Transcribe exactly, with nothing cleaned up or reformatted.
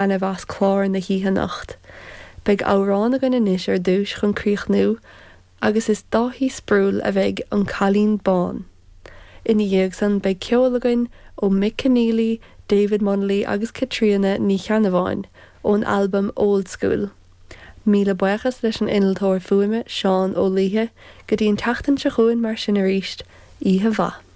taitneamh as clár na hoíche anocht. Beidh amhrán againn anois ar dtús chun críochnú agus is Dáithí Sproule a bheidh an Cailín Bán. Ina dhiaidh san beidh ceol againn ó Mick Keneally, David Munnelly agus Caitríona Ní Cheannabháin ón albam Old School. Míle buíochas leis an innealtóir fuaime Seán Ó Laoithe go dtí an tseachtain seo chugainn mar sin arís, oíche mhaith.